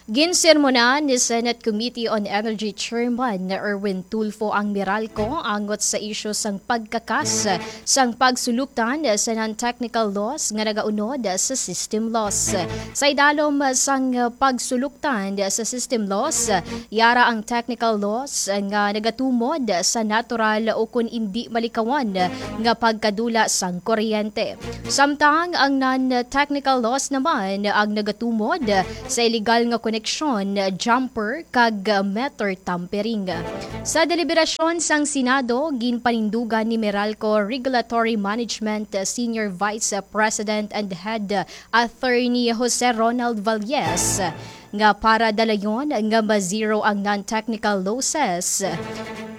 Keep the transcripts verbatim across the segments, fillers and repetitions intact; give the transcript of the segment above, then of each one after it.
Ginsermonan ni Senate Committee on Energy Chairman Erwin Tulfo ang Meralco angot sa isyu sang pagkakas sang pagsuluktan sa non-technical loss nga nagaunod sa system loss. Sa idalom sang pagsuluktan sa system loss, yara ang technical loss nga nagatumod sa natural o kon indi malikawan nga pagkadula sang kuryente. Samtang ang non-technical loss naman ang nagatumod sa iligal nga koneksyon, jumper, kag meter tampering. Sa deliberasyon sang Senado, ginpanindugan ni Meralco Regulatory Management Senior Vice President and Head Attorney Jose Ronald Valles nga para dalayon nga ma-zero ang non-technical losses,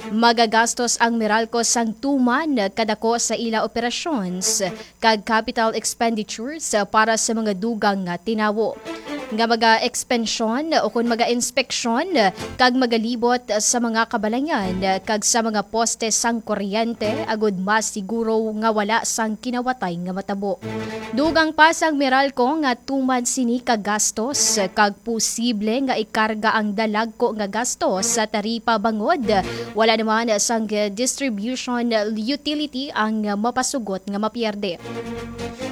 magagastos ang Meralco sang tuman kadako sa ila operations kag capital expenditures para sa mga dugang nga tinawo, nga maga-expensyon o kon maga-inspeksyon kag magalibot sa mga kabalayan kag sa mga poste sang kuryente agud mas siguro nga wala sang kinawatay nga matabo. Dugang pa sang Meralco nga tuman sini ka gastos kag posible nga ikarga ang dalagko nga gastos sa taripa bangod wala naman sang distribution utility ang mapasugot nga mapierde.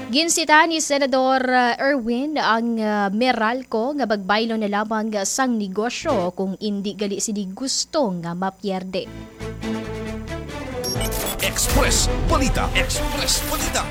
Ginsita ni Senador, uh, Erwin ang, uh, Meralco nga magbaylo na lamang sang negosyo kung indi gali sini gusto nga mapierde. Express Balita. Express Balita.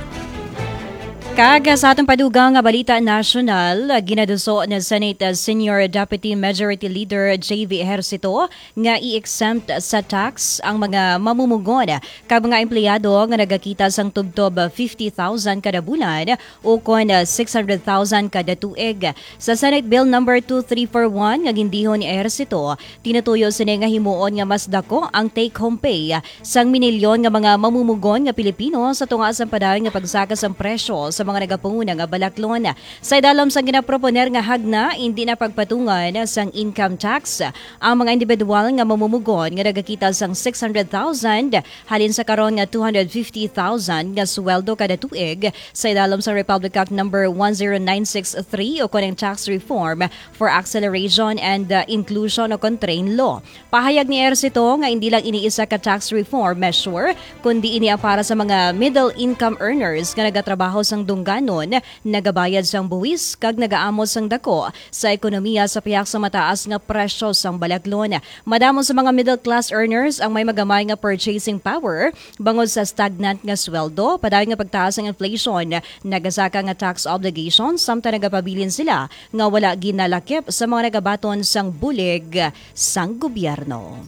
Kag sa atong padugang nga balita nasyonal, ginaduso ni Senate Senior Deputy Majority Leader J V Ejercito nga i-exempt sa tax ang mga mamumugon kag mga empleyado nga nagakita sang tubtob fifty thousand kada bulan ukon six hundred thousand kada tuig. Sa Senate Bill Number two three four one nga gindihon ni Ejercito, tinutuyo sini nga himuon nga mas dako ang take-home pay sang minilyon nga mga mamumugon nga Pilipino sa tunga sang padayon nga pagsaka sang presyo sa mga nagapanguna nga balaklon. Sa idalom sang ginaproponer nga hagna, indi na pagpatungan sang income tax ang mga individual nga mamumugon nga nagakita sang six hundred thousand halin sa karon nga two hundred fifty thousand nga sweldo kada tuig sa idalom sang Republic Act Number one zero nine six three o kon ang Tax Reform for Acceleration and, uh, Inclusion o kon TRAIN Law. Pahayag ni Ejercito nga indi lang ini isa ka tax reform measure, kundi ini ang para sa mga middle income earners nga nagatrabaho sang dungganon, nagabayad sang buwis, kag nagaamot sang dako sa ekonomiya sa pihak sa mataas nga presyo sang balaklon. Madamo sa mga middle class earners ang may magamay nga purchasing power bangod sa stagnant nga sweldo, padayon nga pagtaas sang inflation, nagasaka nga tax obligations, samtang nagapabilin sila nga wala ginalakip sa mga nagabaton sang bulig sang gobyerno.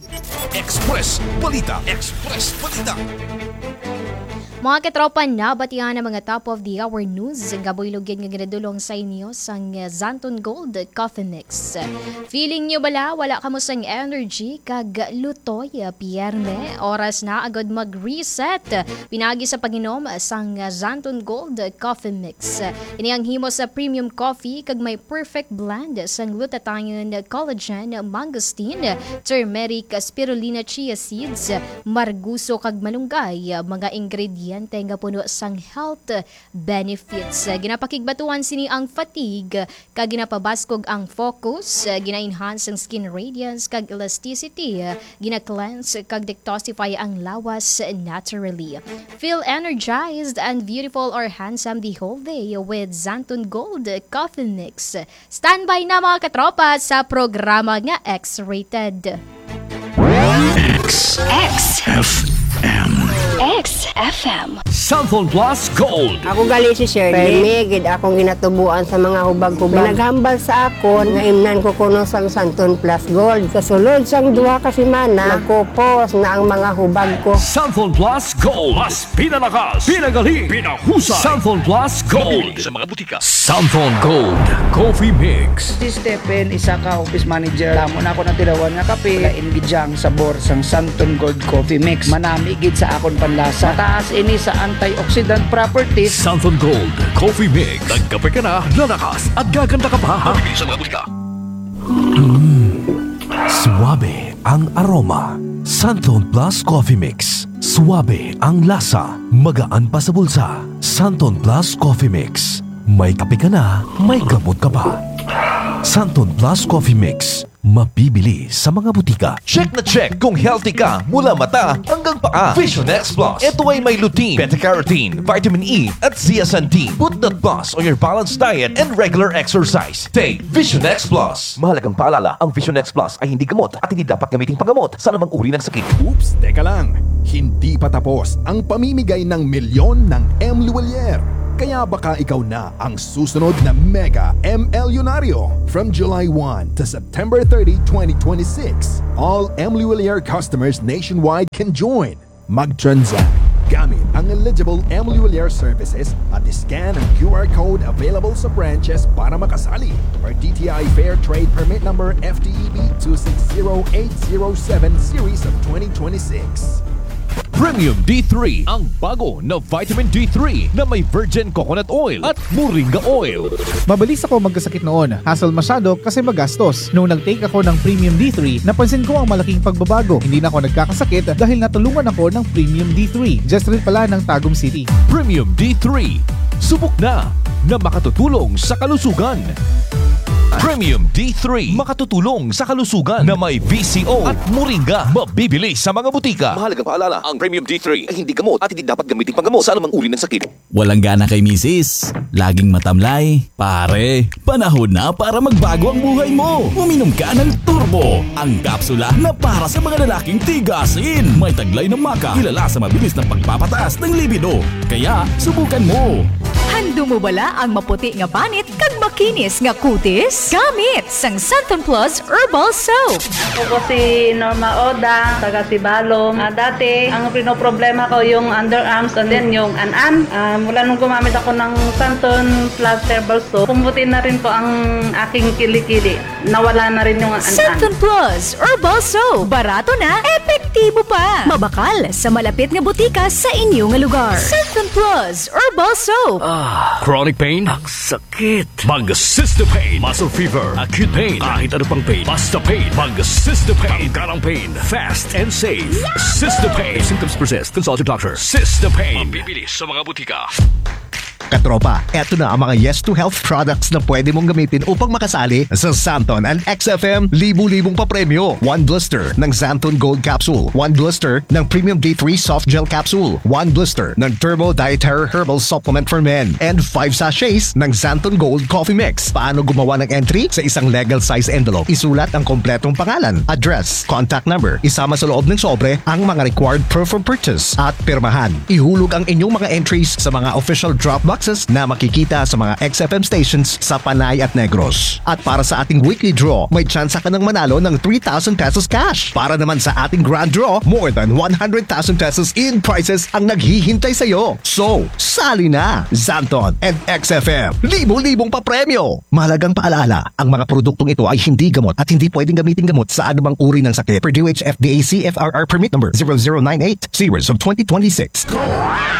Express Balita. Express Balita. Mga katropa, nabatian ang mga top of the hour news nga buylog gid nga ginadulong sa inyo sang Xanthone Gold Coffee Mix. Feeling nyo bala wala kamo sang energy kag lutoy, Pierne? Oras na agud mag-reset pinagi sa pag-inom sang Xanthone Gold Coffee Mix. Ini ang himo sa premium coffee kag may perfect blend sang glutathione, collagen, mangosteen, turmeric, spirulina, chia seeds, marguso kag malunggay, mga ingrediente nga puno sang health benefits. Ginapakigbatuan sini ang fatigue kag ginapabaskog ang focus, gina-enhance ang skin radiance kag elasticity, gina-cleanse kag detoxify ang lawas naturally. Feel energized and beautiful or handsome the whole day with Xanthone Gold Coffee Mix. Standby na, mga katropa, sa programa nga X-rated. X F M. X F M. Xanthone Plus Gold. Ako gali si Shirley. Permi gid akong ginatubuan sa mga hubag-hubag. Naghambal sa akon nga imnan ko kuno sang Xanthone Plus Gold. Sa sulod sang duha ka semana, magkupos na ang mga hubag ko. Xanthone Plus Gold. Mas pinalakas, pinagali, pinahusay. Xanthone Plus Gold. Mabibili sa mga butika. Xanthone Gold Coffee Mix. Si Stephen, isa ka office manager. Damo na ako natilawan nga kape. Lain gid siya ang sabor sang Xanthone Gold Coffee Mix. Manami gid sa akon panlasa. Mataas ini sa antioxidant properties. Xanthone Gold Coffee Mix. Nagkape ka na, lalakas at gaganda ka pa. Mabibili sa mga butika. Suabe ang aroma. Santon Plus Coffee Mix. Suabe ang lasa. Magaan pa sa bulsa. Santon Plus Coffee Mix. May kape ka na, may gamot ka pa. Santon Plus Coffee Mix, mabibili sa mga butika. Check na check kung healthy ka mula mata hanggang paa. Vision X Plus. Ito ay may lutein, beta-carotene, vitamin E, at zeaxanthin. Put that plus on your balanced diet and regular exercise. Take Vision X Plus. Mahalagang paalala, ang Vision X Plus ay hindi gamot at hindi dapat gamiting panggamot sa anumang uri ng sakit. Oops, teka lang. Hindi pa tapos ang pamimigay ng milyon ng M Luwalier. Kaya baka ikaw na ang susunod na mega M L Yunaryo. From July one to September thirty, twenty twenty-six, all M Luwalier customers nationwide can join. Mag-transact gamit ang eligible M Luwalier services at scan ang Q R code available sa branches para makasali, per D T I Fair Trade Permit Number F T E B two six zero eight zero seven series of twenty twenty-six. Premium D three, ang bago na vitamin D three na may virgin coconut oil at moringa oil. Mabilis ako magkasakit noon. Hassle masyado kasi magastos. Nung nag-take ako ng Premium D three, napansin ko ang malaking pagbabago. Hindi na ako nagkakasakit dahil natulungan ako ng Premium D three. Just rin pala ng Tagum City. Premium D three. Subok na na makatutulong sa kalusugan. Premium D three, makatutulong sa kalusugan, na may V C O at moringa. Mabibili sa mga butika. Mahalagang paalala, ang Premium D three ay hindi gamot at hindi dapat gamitin panggamot sa anumang uri ng sakit. Walang gana kay misis? Laging matamlay? Pare, panahon na para magbago ang buhay mo. Uminom ka ng Turbo, ang kapsula na para sa mga lalaking tigasin. May taglay na maca, kilala sa mabilis na pagpapataas ng libido. Kaya, subukan mo. Handum mo bala ang maputi nga panit kag makinis nga kutis? Gamit sang Santon Plus Herbal Soap. Ako po si Norma Oda, taga Sibalom. Ah, dati, ang pinoproblema ko yung underarms and then yung an-an. Ah, mula nung gumamit ako ng Santon Plus Herbal Soap, pumuti na rin po ang aking kilikili. Nawala na rin yung an-an. Santon Plus Herbal Soap. Barato na, epektibo pa. Mabakal sa malapit nga butika sa inyo nga lugar. Santon Plus Herbal Soap. Ah, chronic pain? Ang sakit. Mag Cystepain. Muscle fever, acute pain, kahit ano pang pain. Basta pain. Mag Cystepain. Tanggal ang pain. Fast and safe. Cystepain. If symptoms persist, consult your doctor. Cystepain. Mabibili sa mga butika. Katropa, eto na ang mga Yes to Health products na pwede mong gamitin upang makasali sa Santon and X F M libu-libong papremyo. One blister ng Santon Gold Capsule, one blister ng Premium D three Soft Gel Capsule, one blister ng Turbo Dietary Herbal Supplement for Men, and five sachets ng Santon Gold Coffee Mix. Paano gumawa ng entry? Sa isang legal size envelope, isulat ang kompletong pangalan, address, contact number. Isama sa loob ng sobre ang mga required proof of purchase at pirmahan. Ihulog ang inyong mga entries sa mga official drop boxes na makikita sa mga X F M stations sa Panay at Negros. At para sa ating weekly draw, may tsansa ka ng manalo ng three thousand pesos cash. Para naman sa ating grand draw, more than one hundred thousand pesos in prizes ang naghihintay sa iyo. So, sali na! Santon and X F M, libo-libong papremyo! Mahalagang paalala, ang mga produktong ito ay hindi gamot at hindi pwedeng gamitin gamot sa anumang uri ng sakit. Purdue H F D A C F R R permit number zero zero nine eight, series of twenty twenty-six.